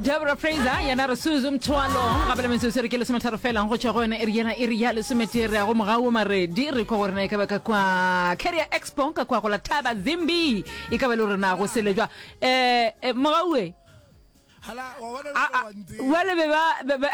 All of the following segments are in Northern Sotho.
Deborah Fraser yena re Suzu Mthwalo gape le metsotso re ke lesometharo fela go tšwa go yona iri yena iri ya lesometee re ya go mogau maredi re kwa gore na e ka ba ka kwa Career Expo ka kwa go la Thaba Zimbi e ka ba le gore na go selejwa eh eh, mogaue Hala, wa bona bjale wa ntseba. Bjale be ba be ba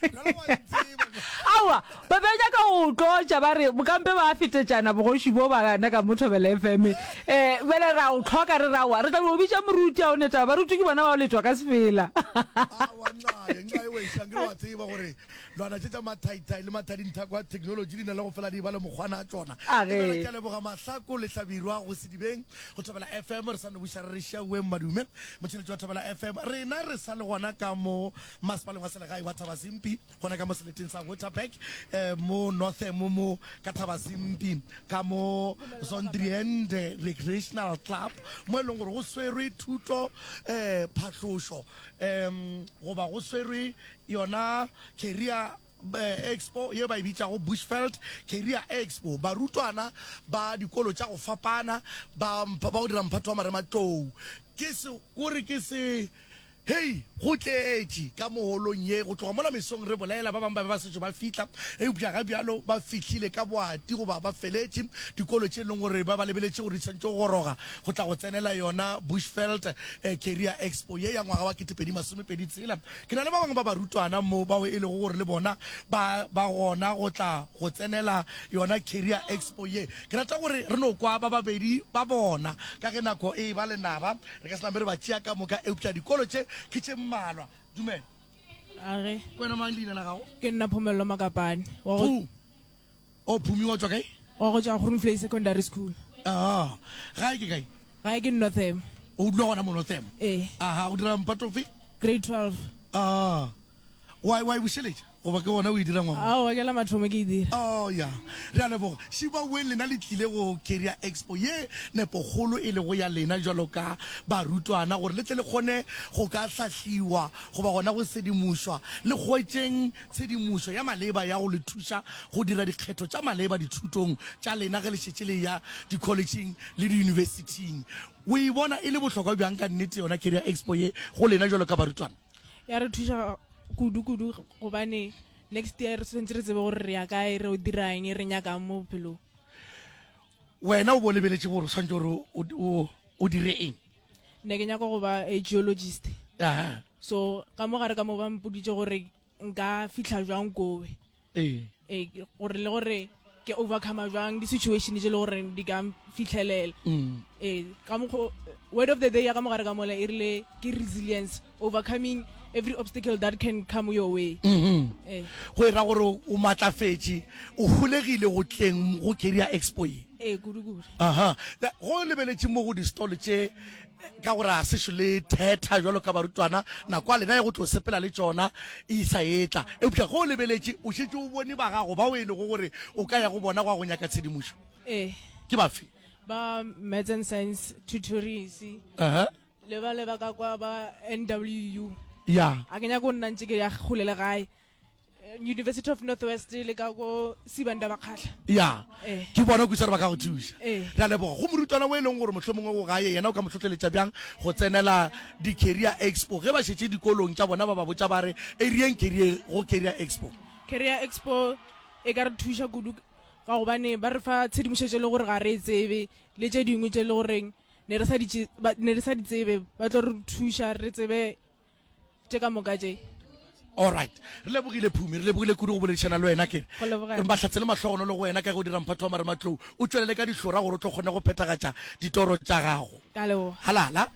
Bjale wa ntseba. Aowa, ba be nyaka go tlotša ba re bokampe ba fetetšana bogoši bo ba na ka mo Thobela FM. Eh, bjale ra o tlhoka re ra wa. Re tla no bitša moruti a o ne taba. Baruti ke bona ba o letwa ka sefela. Aowa, nxaye, nxaye wešo, akere wa tseba gore lwana tše tša mathaithai le mathadinthako a technology di na le go fela di ba le mokgwana a tšona. A ge. Ebjale ke a leboga Mahlako le Hlabirwa go Sedibeng go Thobela FM. Re sa no buša re re Šauweng Madume, motšheletši wa Thobela FM. Rena re sa le gona ka mo masepaleng wa selegae wa Thabazimbi, gona ka mo seleteng sa Waterberg, eh, mo Northam mo ka Thabazimbi, ka mo Zondriende Recreational Club, mo e leng gore go swerwe thuto, eh, phahlošo, um goba go swerwe yona Career Expo ye ba e bitšago Bushveld Career Expo. Barutwana ba dikolo tša go fapana ba ba go dira mphato wa marematlou ke se kore ke se hei go tletše ka mo holong ye go tloga mola mesong re bolela ba bangwe ba be ba sešo ba fihla eupša ga bjalo ba fihlile ka boati goba ba feletše dikolo tše e leng gore ba ba lebeletše gore di swanetše go goroga go tla go tsenela yona Bushveld Career Expo ye ya ngwaga wa 2026. Ke na le ba bangwe ba barutwana mo bao e lego gore le bona ba ba gona go tla go tsenela yona Career Expo ye. Ke rata gore re no kwa ba babedi ba bona ka ge nako e eba lenaba, re ka se name re ba tšea ka moka, eupša dikolo tše ke tše mmalwa. Dumela. Age. Ke wena mang leina la gago? Ke nna Phomello Makapane. Wa go. Phu. O Phumi wa tšwa kae? Wa go tšwa Groenvlei Secondary School. Ah, gae ke kae? Gae ke Northam. O dula gona mo Northam? Ee. Aha, o dira mphato ofe? Grade 12. Ah, wa wa e bušeletša goba ke gona o e dira ngwaga? Aowa, ke la mathomo ke e dira. Oh ya, re a leboga. Šiba weng lena le tlile go Career Expo ye nepokgolo e lego ya lena jwalo ka barutwana gore le tle le kgone go ka hlahliwa goba gona go sedimošwa le hwetšeng tshedimošo ya maleba ya go le thuša go dira dikgetho tša maleba dithutong tša lena ge le šetše le eya dikholetšheng le diyunibesithing. O e bona e le bohlokwa bjang ka nnete yona Career Expo ye go lena jwalo ka barutwana? Ya re thuša kudu kudu gobane next year re swanetše re tsebe gore re ya kae, re o dira eng, re nyakang mo bophelong. Wena o bo lebeletše gore o swanetše gore o dire eng? Ne ke nyaka go ba a geologist. Aha. So ka mo gare ka mo ba mpoditše gore nka fihla jwang kowe. Ee. Ee, gore le gore ke overcome jwang di-situation tše le gore di ka fitlhelela. Mm. Ee, ka mokgo word of the day ya ka mogare ka mola e rile ke resilience, overcoming every obstacle that can come your way. Mm -hmm. Ee. Go e ra gore o matlafetše, o holegile go tleng go Career Expo ye. Ee, kudu kudu. Aha. Go lebeletše mo go di-stall tše ka gore a sešo le thetha jalo ka barutwana nako a lena ya go tlo sepela le tšona e sa etla eupša ge o lebeletše o šetše o bone ba gago bao e lego gore o ka ya go bona go ya go nyaka tshedimošo ee ke bafe ba maths and science tutories uh-huh. le ba le ba ka kwa ba nwu ya a ke nyako go nna ntse ke ya kgole le gae University of North West le ka ko Sibanda Bakgatla. Ya. Eh. Ke bona kwisa gore ba ka go thuša. Eh. Re a leboga. Go morutwana o e leng gore mohlomongwe o gae yena o ka mo hlohleletša bjang go tsenela di-career expo ge ba šetše dikolong tša bona ba ba botša ba re e reyeng career go career expo. Career expo e ka re thuša kudu ka gobane ba re fa tshedimošetšo e le gore ga re e tsebe le tše dingwe tše e le goreng ne re sa di ne re sa di tsebe ba tlo re thuša re tsebe tše ka moka tše. Alright. Re lebogile Phumi, re lebogile kudu go boledišana le wena ke. Go leboga. Mahlatse le mahlogonolo go wena ka ge o dira mphato wa marematlou. O tšwelele ka dihlora gore o tlo kgone go phethagatša ditoro tša gago. Ka leboga. Halala.